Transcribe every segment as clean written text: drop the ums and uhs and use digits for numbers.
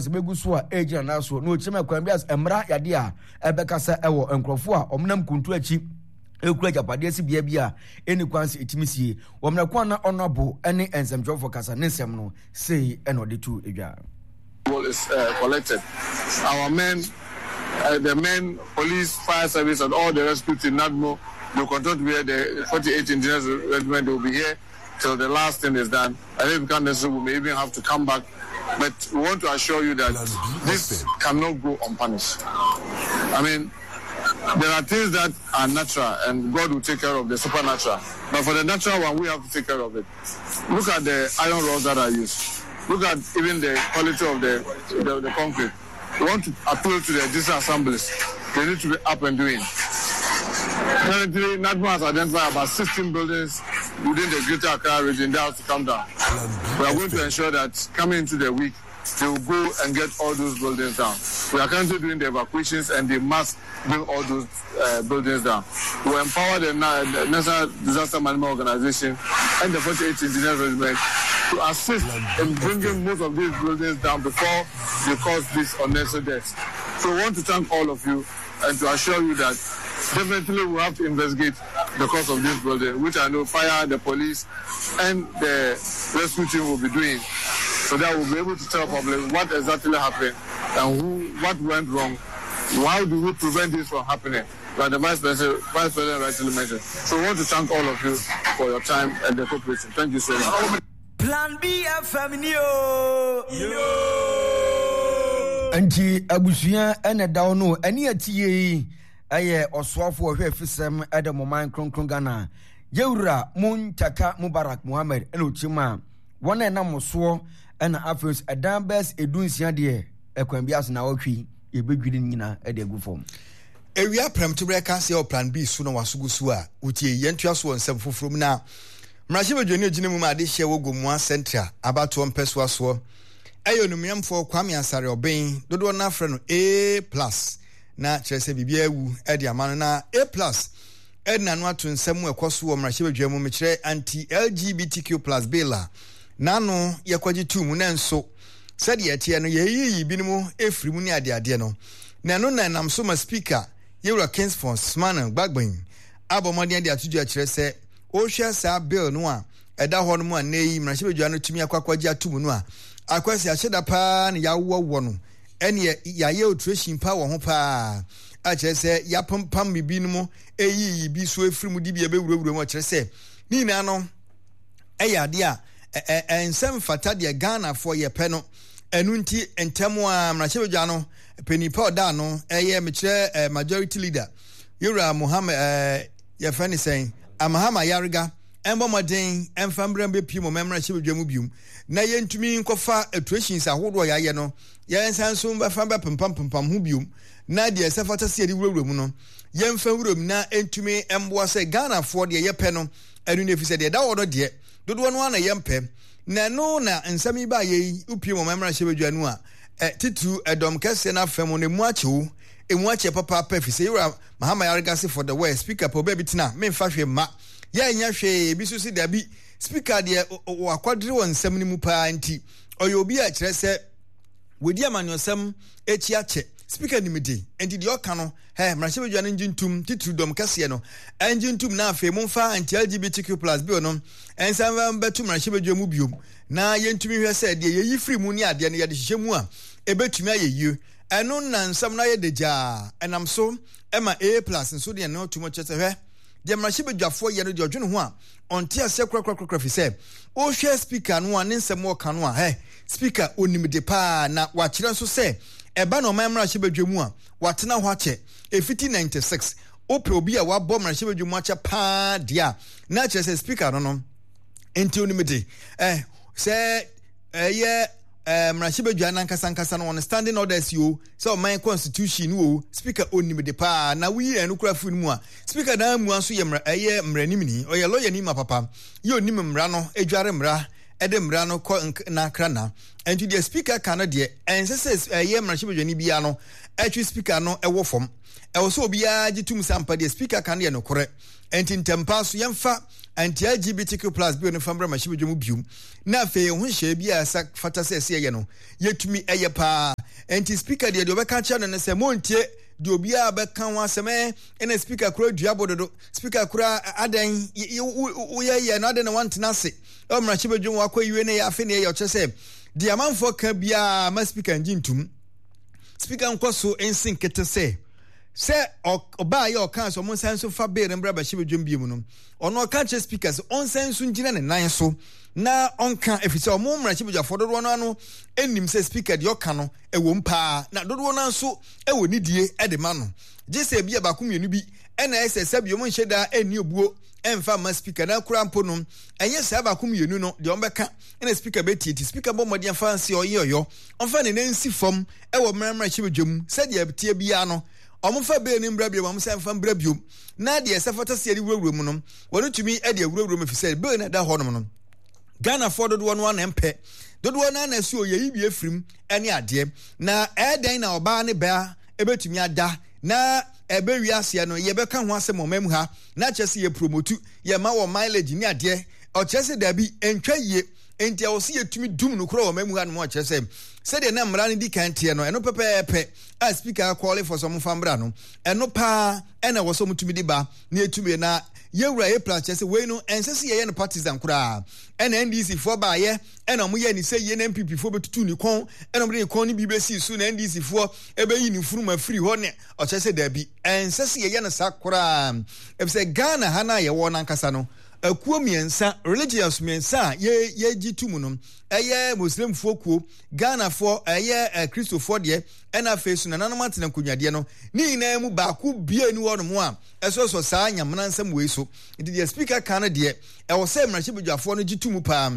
sɛ bɛgu so a ɛgyina nan so na ɔkyerɛ mu ɛkwan bi a mmara yadeɛ a ɛbɛkasa ɛwɔ nkurɔfoɔ a wɔnam kuntu akyi ekura agyapadeɛ si bea bi a ɛni kwan sɛ ɛtumi sie wɔ mmerɛ ko a na ɔno ne nsɛmtwerɛfoɔ kasa ne nsɛm no sei ɛna ɔde to dwa. Is uh, collected. Our men, uh, the men, police, fire service, and all the rescue team, NADMO, they continue to be here. The 48 Engineers Regiment, they will be here till the last thing is done. And if it becomes necessary, we may even have to come back. But we want to assure you that this cannot go unpunished. I mean, there are things that are natural and God will take care of the supernatural. But for the natural one, we have to take care of it. Look at the iron rods that are used. Look at even the quality of the, the, the concrete. We want to appeal to the district assemblies. They need to be up and doing. Currently, NADMO has identified about 16 buildings within the Greater Accra region that have to come down. We are going to ensure that coming into the week, they will go and get all those buildings down. We are currently doing the evacuations and they must bring all those uh, buildings down. We empower the, the National Disaster Management Organization and the 48 Engineers Regiment to assist in bringing most of these buildings down before they cause these unnecessary deaths. So we want to thank all of you and to assure you that definitely we have to investigate the cause of this building, which I know fire, the police, and the rescue team will be doing, so that we'll be able to tell public what exactly happened and who, what went wrong. How do we prevent this from happening? Like the Vice President, Vice President rightly mentioned. So we want to thank all of you for your time and the cooperation. Thank you so much. Plan B FM ni o. Nti abusua ɛna ɛda hɔ no ɛne atie yi ɛyɛ ɔsoafo ɔhwɛ afisɛm ɛde mo man kronkron Ghana yɛwura Muntaka Mubarak Muhammed ɛna ɔkyerɛ mu a wɔn a ɛnam soɔ ɛna afei nso ɛdan bɛs edu nsia deɛ ɛkwan bi ase na ɔtwe yɛbɛdwiri ne nyinaa ɛde agu fam. Ewia prɛmtoberɛ ka sɛ wɔ Plan B so na waso gu so a, wotie. Yɛntoa so wɔ nsɛm foforɔ mu na mmarahyɛbadwani a ɔgyina mu ma adehyeɛ wɔ Gomoa Central abatoɔ mpɛsoa soɔ ɛyɛ Onumyamfoɔ Kwame Asare Ɔben, dodoɔ no ara frɛ no A plus na kyerɛ sɛ biribiara awu de ama no na A plus ɛde n'ano ato nsɛm mu ɛkɔ so wɔ mmarahyɛbadwa mu mekyerɛ anti-LGBTQ plus bill a n'ano yɛkɔgye too mu nanso sɛdeɛ ɛteɛ no yɛyiyi binom firi mu ne adeadeɛ no na ɛno na ɛnam so ma speaker yɛwura Kingsford Smane Gbagbin abɔ mmɔden de ato dwa kyerɛ sɛ wohwɛ saa bill no a ɛda hɔ no mu a nnɛ yi mmarahyɛbadwa no tumi akɔ akɔgye ato mu no a akwasi ahyɛda paa na yɛawɔwɔ no ɛneɛ yɛayɛ alteration pa wɔ ho paa a kyerɛ sɛ yɛapempam biribi no mu ɛyiyi bi so afiri mu de bi ɛbɛwurawura mu kyerɛ sɛ ne nyinaa no ɛyɛ adeɛ a ɛnsɛ mfata deɛ Ghanafoɔ yɛpɛ no ɛno nti ntɛm a mmarahyɛbadwa no panin pa ɔda ano ɛyɛ mekyerɛ majority leader yɛwura Mohammed ɛɛ yɛfrɛ ne sɛn Amahama Yarega ɛmbɔ mmɔden ɛmfa mbrɛ mbɛpie mu mmarahyɛbadwa mu biom na yɛntumi nkɔfa alterations ahodoɔ yɛayɛ no yɛnsan nso mbɛfa mbɛpempampempam ho biom na deɛ ɛsɛ fata sɛ yɛde wurawura mu no yɛmfa nwura mu na ɛntumi mboa sɛ Ghanafoɔ deɛ yɛpɛ no ɛno no ɛfiri sɛ deɛ ɛda hɔ no deɛ dodoɔ no ara na yɛmpɛ na ɛno na nsɛm yi baayɛ yi wopie mu ɔman mmarahyɛbadwa no a titiriw ɛdɔm kɛseɛ no afɛ mu no ɛmu akyɛ o ɛmu akyɛ papaapa ɛfiri sɛ yɛwura Mahama Yarega se for the word speaker pɛ ɔbaa bi tena memfa hwee mma yɛnyɛ hwee ebi nso se dabi speaker deɛ wakwadere wɔ nsɛm no mu paa nti ɔyɛ obi a kyerɛ sɛ wɔdi amanyɔsɛm akyi akyɛ speaker nim de nti deɛ ɔka no hɛ mmarahyɛbadwa no ngye ntum titiri dɔm kɛseɛ no ɛngye ntum na afei momfa anti lgbtq plus bill no ɛnsan mfa mbɛto mmarahyɛbadwa mu biom na yɛntumi hwɛ sɛ deɛ yɛyi firi mu ne adeɛ no yɛde hyehyɛ mu a ɛbɛtumi ayɛ yie ɛno na nsɛm no ayɛ dagyaa ɛnam so ɛma A plus nso deɛ no tum kyerɛ sɛ hwɛ deɛ mmarahyɛbadwafoɔ yɛ no deɛ ɔdwene ho a ɔnte aseɛ korakorakora fi sɛ wohwɛ speaker no a ne nsɛm ɔka no a hɛ speaker onim de paa na wakyerɛ nso sɛ ɛba na ɔman mmarahyɛbadwa mu a watena hɔ akyɛ ɛfiti 96 wopɛ obi a wabɔ mmarahyɛbadwa mu akyɛ paa deɛ a na kyerɛ sɛ speaker no no nti onim de eh, sɛ ɛyɛ eh, mmarahyɛbadwa no ankasa ankasa no wɔn standing orders yi o sɛ ɔman constitution no o speaker onim de paa na woyi ɛno kura firi no mu a speaker naa mua nso yɛ mmara ɛyɛ mmaranimni ɔyɛ lawyer ni ma papa yɛ onim mmara no edware mmara ɛde mmara no kɔ n'akra na ɛnti deɛ speaker ka no deɛ ɛnsɛ sɛ ɛyɛ mmarahyɛbadwani biara no ɛtwe speaker no ɛwɔ fam ɛwɔ sɛ obiara gye tum sɛ ampa deɛ speaker ka no yɛ nokorɛ ɛnti ntɛmpa so yɛmfa anti LGBTQ plus bill no fa mmra mmarahyɛbadwa mu biom na afei ɛho nhyehyɛeɛ bi a ɛsa fata sɛ ɛsɛ yɛyɛ no yɛtumi ɛyɛ paa. Enti speaker deɛ deɛ ɔbɛka kyerɛ no ne sɛ montie deɛ obiara bɛka ho asɛm ɛ ɛna speaker kora dua bododo speaker kora adɛn woyɛ yɛ no adɛn na wantena ase ɛwɔ mmarahyɛ badwam wakɔ yiwe ne yɛ afe ne yɛ ɔkyerɛ sɛ deɛ amanfoɔ ka biara ma speaker ngye ntum. Speaker nkɔ so nsi nkete sɛ sɛ ɔbaa yɛ ɔkaa sɛ ɔmo nsan nso fa bill no mbra bɛhyɛ badwam bio mu no ɔno ɔka kyerɛ speaker sɛ ɔnsan nso ngyina ne nan so na ɔnka efisɛ ɔmo mmarahyɛbadwafoɔ dodoɔ no ano nnim sɛ speaker deɛ ɔka no ɛwɔ mu paa na dodoɔ no nso ɛwɔ nidie ɛde ma no gye sɛ ebi a baako mmienu bi ɛna ɛsɛ sɛ bi ɔmo nhyɛ daa ɛnni obuo ɛnfa mma speaker na kura mpo no ɛnyɛ saa baako mmienu no deɛ ɔmo bɛka ɛna speaker bɛtie ti speaker bɔ mmɔden afa nse ɔyɛ ɔyɔ ɔmfa ne nan nsi fam wɔ mmara mmarahyɛbadwa mu sɛdeɛ ɛteɛ biara no, wɔmfa bee no mbra biom, wɔnsan mfa mbra biom, na deɛ ɛsɛ fata sɛ yɛde wurawura mu no, wɔn tumi de awurawura mu efisɛ bee no ɛda hɔnom no, Ghanafoɔ dodoɔ no ara na ɛmpɛ, dodoɔ no ara na ɛsɛ yɛyi bi afirim ne adeɛ, na ɛyɛ dɛn na ɔbaa ne baa ɛbɛtumi ada na ɛbɛ wiaseɛ no yɛbɛka ho asɛm ɔman mu ha na kyerɛ sɛ yɛ promotu yɛma wɔ mileage ne adeɛ, ɔkyerɛ sɛ daabi ɛntwa yie. Enti ɛwɔ sɛ yɛtumi dum no korɔ wɔ ɔman mu hanom a kyerɛ sɛ sɛdeɛ na mmara no di kan teɛ no, ɛno pɛpɛɛpɛ a speaker akɔɔle fɔ sɛ wɔmfa mmra no, ɛno paa ɛna ɛwɔ sɛ wɔtumi de ba na yɛtumi na yɛwura A plus kyerɛ sɛ wei no ɛnsɛ sɛ yɛyɛ no partisan koraa. Ɛna NDC foɔ baayɛ ɛna wɔyɛ ne sɛ yie na NPP foɔ bɛtutu ne kɔn ɛna wɔde ne kɔn no bi bɛsii so na NDC foɔ ɛbɛyi ne funuma firi hɔ ne ɔkyerɛ sɛ daabi ɛnsɛ sɛ yɛyɛ no saa koraa ɛfisɛ Ghana ha no a yɛwɔ no ankasa no Akuo mmiɛnsa, religious mmiɛnsa a yɛ yɛgye to mu no, ɛyɛ Muslimfoɔ kuo, Ghanafoɔ, ɛyɛ eh, Kristofoɔ deɛ, ɛna afei so nananom atena nkonnwadeɛ no, ne nyinaa mu baako bie ni hɔ nom a ɛsɔsɔ saa nyamena nsɛm wei so. Nti deɛ speaker ka no deɛ, ɛwɔ sɛ mmarahyɛbadwafoɔ no gye to mu paa.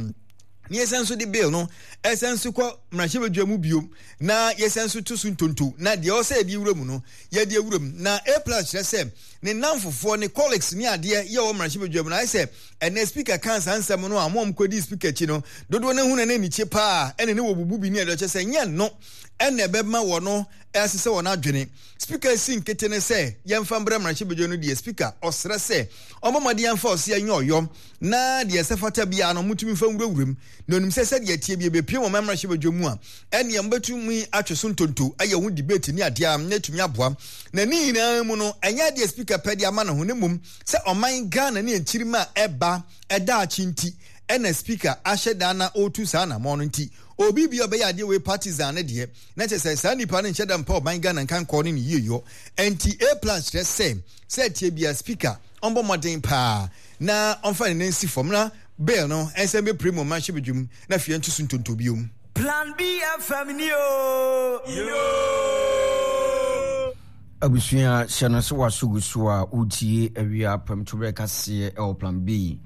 Na yɛsan nso de bill no ɛsan nso kɔ mmarahyɛbadwa mu bio na yɛsan nso to so ntonto na deɛ ɔsɛ yɛde wura mu no yɛde awura mu na A plus kyerɛ sɛ ne nnamfofoɔ ne colleagues ne adeɛ yɛ wɔ mmarahyɛbadwa mu no ayɛ sɛ ɛnɛ speaker kan saa nsɛm no a wɔn a wɔkɔdi speaker akyi no dodoɔ no ahu na ne anikye paa ɛne ne wɔ bubu bi ne ɛdeɛ kyerɛ sɛ nyɛ no ɛna ɛbɛma wɔ no ɛsesɛ wɔn adwene speaker si nkete ne sɛ yɛmfa mbra mmarahyɛbadwa no deɛ speaker ɔsrɛ sɛ ɔmmɔ mmɔden amfa ɔseɛ nyɛ ɔyɔ na deɛ ɛsɛ fata biara no motumi mfa nwurawura mu, na onim sɛ sɛdeɛ ɛteɛ bi ɛbɛpue wɔn mmarahyɛbadwa mu a, ɛnneɛ mobɛtumi atwe so ntonto ayɛ ho debate ne adeɛ a na ɛtumi aboa. Na ne nyinaa mu no, ɛnyɛ adeɛ speaker pɛ de ama ne ho, na mmom sɛ ɔman Ghana ne nkyirimma a ɛba daakye nti ɛna speaker ahyɛ da na ɔretu saa anammɔn no nti, obi bi a ɔbɛyɛ adeɛ wei partisan no deɛ, na kyerɛ sɛ saa nipa no nhyɛ da mpa ɔman Ghana nkankɔɔ ne ne yieyɔ. Ɛnti A plus kyerɛ sɛ, sɛ ɛteɛ biara speaker ɔmbɔ mmɔden paa na ɔmfa ne nan nsi fam na bill no nsan bɛpire mu mmarahyɛbadwam na afei ɛnto so ntonto biom. Plan B FM ni oo. Abusua hyɛ no sɛ waso gu so a wotie awia apamtoberɛ kaseɛ ɛwɔ Plan B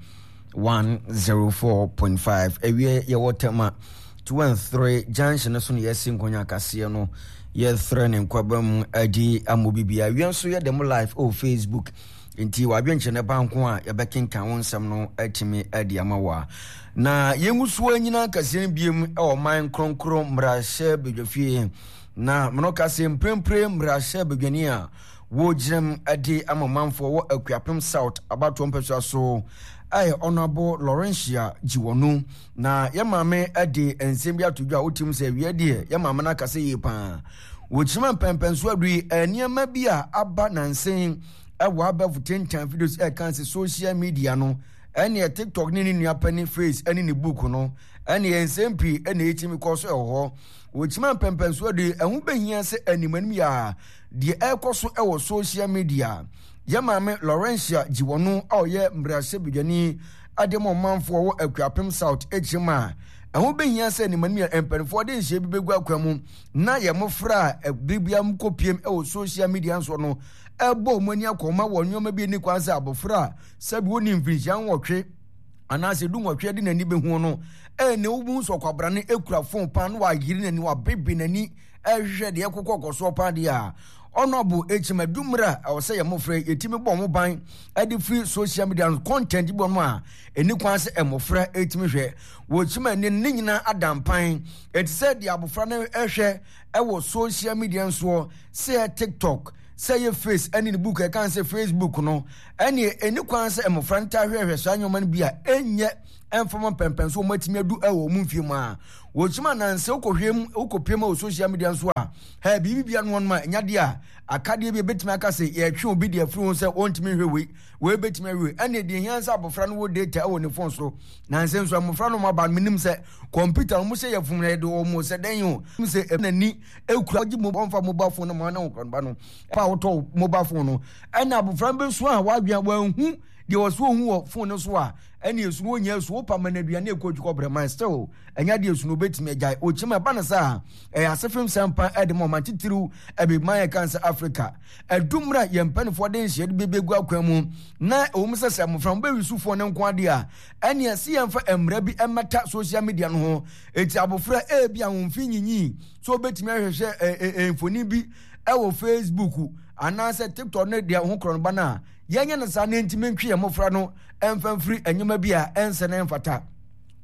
104.5 awia yɛwɔ Tema 2 and 3 junction no so na yɛasi nkɔnya kaseɛ no yɛfrɛ ne nkwaba mu adi amɔ bibia awia nso yɛ dɛm live ɛwɔ Facebook Enti w'adwenkyerɛ no ba nko a, yɛbɛkenkan wo nsɛm no atumi adi ama wo a. Na yɛngu so anyina kaseɛ no biom wɔ ɔman kronkron mmarahyɛ badwafie. Na meno ka sɛ mprempren mmarahyɛ badwani a wɔgyinam de ama manfoɔ wɔ Akuapem South abatoɔ mpasua so ɛyɛ Honourable Laurentia Gyiwɔnu. Na yɛ maame de nsɛm bi ato dwa a wotim sɛ awia deɛ yɛ maame no akasa yie paa. Wɔkyima mpɛmpɛnso adui nneɛma bi a aba nansen ɛwɔ abɛɛfo tentan videos ɛka sɛ social media no ɛneɛ tiktok ne ne nua panyin face ɛne ne book no ɛneɛ nsɛm pii ɛna ɛtumi kɔ so ɛwɔ hɔ. Wɔkyima mpɛmpɛnso adui ɛho bɛhia sɛ anim anim yɛ a deɛ ɛrekɔ so ɛwɔ social media. Yɛ maame Laurentia Gyiwɔno a ɔyɛ mmarahyɛbadwani de ma ɔmanfoɔ wɔ Akuapem South kyerɛ mu a ɛho bɛhia sɛ anim anim yɛ mpanimfoɔ de nhyɛ bi bɛgu akwan mu na yɛn mmɔfra a bere biara mokɔpiem wɔ social media nso no ɛbɔ wɔn ani akɔma wɔ nneɛma bi ani kwan sɛ abɔfra a sɛbi wɔnni mfirinhyia nwɔtwe anaasɛ du nwɔtwe de n'ani bɛhu no ɛne wobu nso ɔkwabra no ekura fon paa na wayere n'ani wabebe n'ani ɛhwehwɛ deɛ ɛkokɔ kɔsoɔ paa deɛ a ɔno ekyim adu mmerɛ a ɛwɔ sɛ yɛn mmɔfra yɛtumi bɔ wɔn ban ɛde firi social media no content bi wɔn a ɛni kwan sɛ mmɔfra ɛtumi hwɛ wɔkyim ani ne nyinaa adampan ɛte sɛ deɛ abɔfra no ɛhwɛ ɛwɔ social media nsoɔ sɛ tiktok sɛ yɛ face ɛne ne book ɛka sɛ facebook no ɛne ɛni kwan sɛ mmɔfra no taa hwɛhwɛ saa nneɛma no bi a ɛnyɛ ɛmfama mpɛmpɛn so wɔn atumi adu ɛwɔ wɔn mfie mu a wɔkyim ananse wokɔhwɛ mu wokɔpie mu wɔ social media nso a. Hɛ, biribi bia no wɔnom a, ɛnya deɛ a, akadeɛ bi a ɛbɛtumi aka sɛ yɛtwe obi deɛ afiri ho sɛ ɔntumi nhwɛ wei, wei bɛtumi ahwɛ wei. Ɛnna deɛ hia sɛ abɔfra no wɔ data wɔ ne phone so. Nansa nso mmɔfra no aba no, menim sɛ kɔmputa no wɔn sɛ yɛfom na yɛde wɔn sɛ dɛn o. Sɛ n'ani ekura gye mo ɔmfa mobile phone no ma ne ho ba no. Pa a wotɔ mobile phone no, ɛnna abɔfra no bɛsua a wadwene wanhu deɛ ɔsɛ ohu wɔ phone no so a, ɛnna esu no ɔnyɛ esu wopa ma no aduane ɛkɔ otwi kɔbrɛ man still ɛnyɛ adeɛ esu no obetumi agyae okyim ɛba no saa ɛyɛ asefem sɛmpa ɛde ma ɔman titiriw ɛbiman ɛka sɛ Africa ɛdu mmerɛ yɛn mpanimfoɔ de nhyɛ de bɛbɛgu akwan mu na ɛwɔ mu sɛ sɛ mmɔfra mo bɛwi sufoɔ no nko adeɛ a ɛne ɛsi yɛn fa mmerɛ bi ɛmmɛta social media no ho eti abɔfra ebi a wɔn fi nyinyi so obetumi ahwehwɛ ɛ ɛ mfoni bi ɛwɔ Facebook anaasɛ TikTok ne deɛ ho korɔ no ba no a yɛnyɛ no saa na ntumi ntwe yɛn mmɔfra no mfa mfiri nneɛma bi a ɛnsɛ na ɛmfata.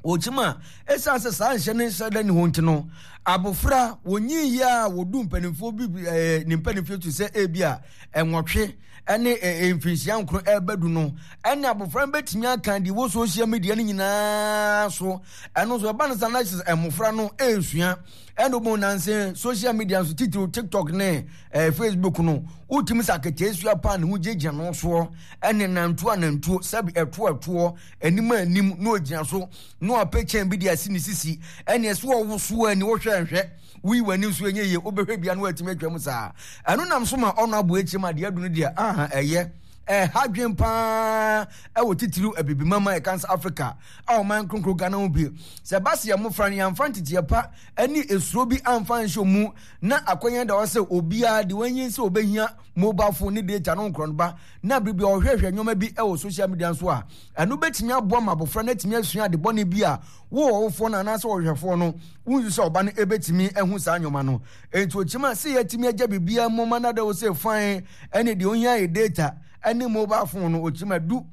Wɔkyim a, ɛsiane sɛ saa nhyɛ ne nhyɛ da ne hɔ nti no, abofra wɔnyin yie a wɔdu mpanimfoɔ bi ɛɛ ne mpanimfoɔ tu sɛ ebi a ɛnwɔtwe ɛne ɛɛ mfinhyia nkron ɛrebɛdu no, ɛne abofra no bɛtumi aka deɛ wɔ social media no nyinaa so. Ɛno nso ɛba no saa na kyerɛ sɛ mmofra no ɛresua. Ɛna wɔn nanse social media nso titiriw TikTok ne ɛɛ Facebook no, wotumi sɛ aketeesua paa ne ho gyinagyina no soɔ ɛne nantuo anantuo sɛbi ɛtoɔ ɛtoɔ anim a anim na ogyina so na wapɛ kyɛn bi de asi ne sisi ɛne ɛso ɔwosoɔ ani wohwɛ nhwɛ woyi w'ani nso ɛnyɛ yie wobɛhwɛ bia na watumi atwa mu saa ɛno nam so ma ɔno aboa akyi ma deɛ adu no deɛ aha ɛyɛ ɛha dwen paa ɛwɔ titiriw abibimama ɛka sɛ Africa a ɔman kronkron Ghana ho bi sɛ ɛba sɛ yɛn mmofra no yɛmfa nteteɛ pa ɛne esuro bi amfa nhyɛ mu na akɔnyɛ da hɔ sɛ obiara de wɔnyin sɛ obɛhia mobile phone ne data no nkorɔ no ba na bere bi a ɔhwɛhwɛ nneɛma bi wɔ social media nso a, ɛno bɛtumi aboa ma abɔfra no atumi asua ade bɔne bi a wo ɔwofoɔ no anaasɛ ɔhwɛfoɔ no wonsu sɛ ɔba no ɛbɛtumi ahu saa nneɛma no. Enti ɔkyim a sɛ yɛatumi agya biribiara mu ma no ada wo sɛ fine ɛne deɛ ohia yɛ data ɛne mobile phone no, ɔkyim a du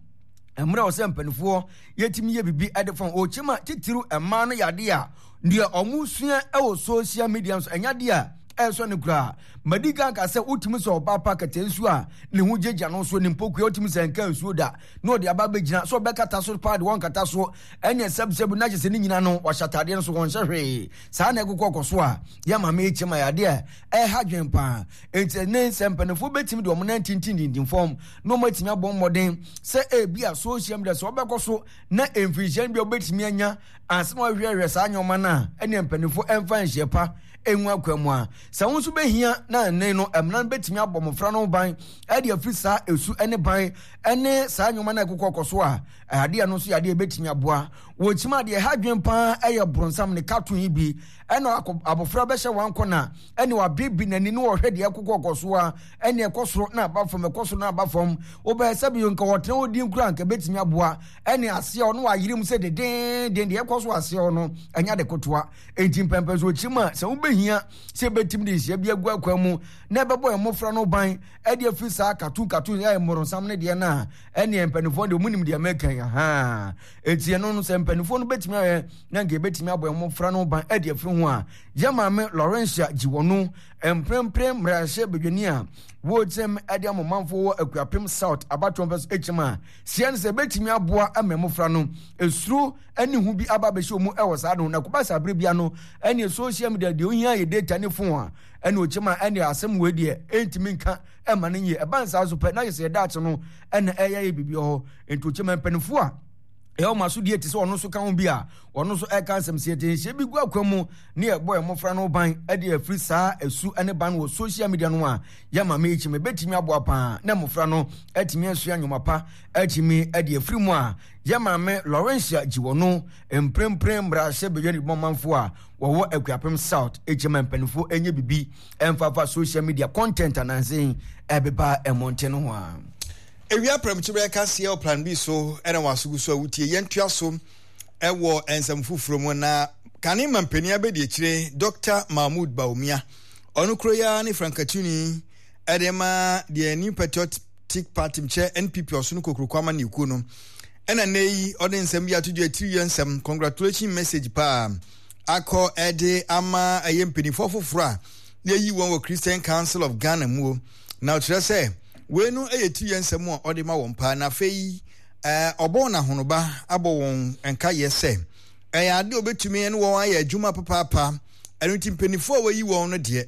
mmerɛ wɔ sɛ mpanimfoɔ yɛtumi yɛ biribi de fa ɔkyim a titiriw mmaa no yɛ adeɛ a deɛ ɔmo sua wɔ social media nso ɛnyɛ adeɛ a ɛnsɔ no koraa. Madi kan ka sɛ wotumi sɛ ɔbaa pa kɛtɛ nsuo a ne ho gyagya no so ne mpokua wotumi sɛ nka nsuo da na ɔde aba bɛgyina sɛ ɔbɛkata so paa de wɔnkata so ɛne sɛbsɛb na kyɛ sɛ ne nyina no wahyɛ ataadeɛ no so wɔnhyɛ hwee saa na ɛkokɔ kɔ so a yɛ maame yi kyɛm ayɛ adeɛ a ɛha dwen paa enti ne sɛ mpanimfoɔ bɛtumi de wɔn nan tintintintin fam na wɔn atumi abɔ mmɔden sɛ ebi a social media sɛ wɔbɛkɔ so na mfirihyia no bi a wɔbɛtumi anya ansa na wɔahwehwɛ saa nneɛma no a ɛne mpanimfoɔ ɛmfa nhyɛ pa ngu akwan mu a, sɛ wo nso bɛhia na ɛnne no, mmara no bɛtumi abɔ mmɔfra no ho ban de afiri saa esu ne ban ne saa nneɛma no a ɛkokɔ kɔ so a, adeɛ no nso yɛ adeɛ ɛbɛtumi aboa. Wɔkyim adeɛ ɛha adwene paa ɛyɛ bronsam ne cartoon yi bi ɛna abɔfra bɛhyɛ wɔn akɔ na ɛne wabebi n'ani ne wɔhwɛ deɛ ɛkokɔ kɔ so a ɛne ɛkɔ soro na aba fam ɛkɔ soro na aba fam wobɛyɛ sɛ bi nka wɔtena hɔ din kura nka ɛbɛtumi aboa ɛne aseɛ ɔno wayere mu sɛ dedenden deɛ ɛkɔ so aseɛ ɔno ɛnyɛ de kotoa Enti mpɛmpɛnsoɔ kyim a sɛ wobɛhia sɛ ɛbɛtim de nhyia bi agu akwan mu na ɛbɛbɔ yɛn mmɔfra no ban ɛde afiri saa katun katun ɛyɛ mmorɔnsam no deɛ no a ɛneɛ mpanimfoɔ deɛ ɔmo nim deɛ mɛka yi ahaa enti ɛno no sɛ mpanimfoɔ no bɛtumi ayɛ na nka ɛbɛtumi abɔ yɛn mmɔfra no ban ɛde afiri ho a yɛ maame Laurentia Gyiwɔno mprempren mmarahyɛ badwani a wɔkyɛm ɛde ama ɔmanfoɔ wɔ Akuapem South abatoɔ mpɛ so ɛkyɛm a seɛ no sɛ ɛbɛtumi aboa ama mmɔfra no esuro ɛne hu bi aba abɛhyɛ wɔn mu wɔ saa no na kɔba saa bere bia no ɛne social media deɛ ohia yɛ data ne phone a ɛne ɔkyɛm a ɛne asɛm wei deɛ ɛntumi nka ɛma no nyɛ ɛba nsaa so pɛ na yɛ sɛ yɛda no ɛna ɛyɛ yɛ biribi hɔ nti ɔkyɛm a mpanimfoɔ a ɛyɛ wɔn aso deɛ te sɛ ɔno nso ka ho bi a ɔno nso ɛka nsɛm sɛ yɛte nhyɛ bi gu akwan mu ne yɛbɔ yɛn mmɔfra no ban ɛde afiri saa ɛsu ne ban wɔ social media no a yɛ maame yi kyɛm ɛbɛtumi aboa paa na mmɔfra no atumi asua nnwoma pa atumi ɛde afiri mu a Yɛ maame Laurentia Gyiwɔno, mprempren mmarahyɛbadwani manfo a wɔwɔ Akuapem South kyɛ ma mpanimfoɔ nyɛ biribi mfafa social media content ananse ɛbeba mmɔnten no ho a. Ewia prɛmtoberɛ kaseɛ wɔ Plan B so na w'aso gu so a wotie. Yɛntoa so wɔ nsɛm foforɔ mu na kane mampanin abɛdiakyire Dr. Mahmoud Bawumia ɔno kuro yi ara ne frankatuni ɛde ma deɛ New Patriotic Patriotic Party kyerɛ NPP ɔsono kokuroko amanyɔkuo no ɛna nnɛ yi ɔde nsɛm bi ato dwa tiri yɛ nsɛm congratulation message paa akɔ ɛde ama ɛyɛ mpanimfoɔ foforɔ a yɛyi wɔn wɔ Christian Council of Ghana muo na ɔkyerɛ sɛ wei no ɛyɛ tiri yɛ nsɛm a ɔde ma wɔn paa na afei ɛɛ ɔbɔ wɔn ahonoba abɔ wɔn nkayɛ sɛ ɛyɛ ade a obetumi ne wɔn ayɛ adwuma papaapa ɛno nti mpanimfoɔ a wɔyi wɔn no deɛ.